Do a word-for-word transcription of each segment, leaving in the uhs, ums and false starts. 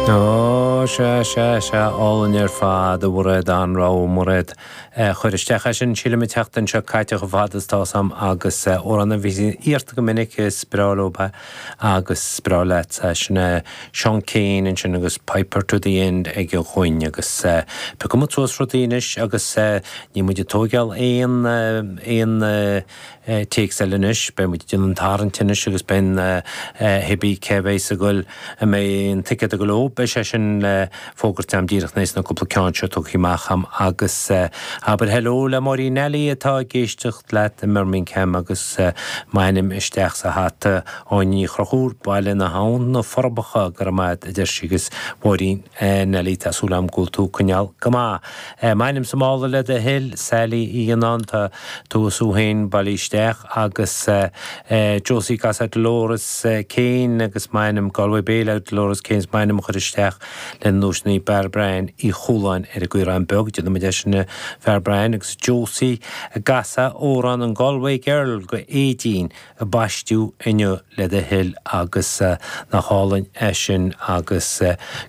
Ó sea sea sea álainn ar fad a Mhairéad an-rogha Mairéad chur isteach é sin sílim an tseachtain seo caite chomh fada is tá 'fhios a'm agus amhrán a bhí iarrta go minic is breá leo agus is breá leat sin é Seán Keane ansin agus Piper to the End ag a dhuine agus piocfaidh muid suas rudaí anois agus níl muid ag tógáil aon aon téacs eile anois, beidh muid ag déanamh an tarraingt anois agus beidh hibí cé bheidh ag goil a mbeidh an ticéad ag goil leo, beidh sé sin le fógairt a'm díreach tar éis na cúpla ceann seo tugtha amach a'm agus abair hello le Máirín Nally atá ag éisteacht leat i mBirmingham agus m'ainm isteach sa hata Áine Ní Chonchúir, Baile na hAbhann, na Forbacha, go raibh maith a deir sí agus Máirín Nally tá súil a'm go bhfuil tú coinneáil go maith. M'ainm sa mála le do thoil, Sally Uí Fhionnáin tá tú is tú féin bailithe isteach agus Josie Gasa Dolores Kane agus m'ainm Galway Bay le Dolores Kane m'ainm a chur isteach le nóisní Bear Brian Uí Chualáin ar an gCaorán Beag, déanfaidh muid é sin Fear Brian agus Josie Gasa amhrán an Galway Girl go Éidín a baisteadh inniu le do thoil agus nach álainn é sin agus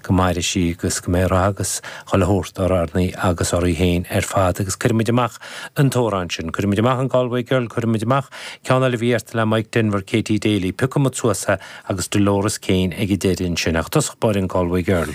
go maire sí agus go mbeidh rath agus chuile shórt ar arnaí agus oraibh féin ar fad agus cuirfimid amach an t-amhrán sin, cuirfimid amach an Galway Girl, cuirfimid amach ceann eile a bhí iarrta le Mike Denver, Katie Daly, piocfaidh muid suas é agus Dolores Kane ag an deireadh ansin ach tosach báire an Galway Girl.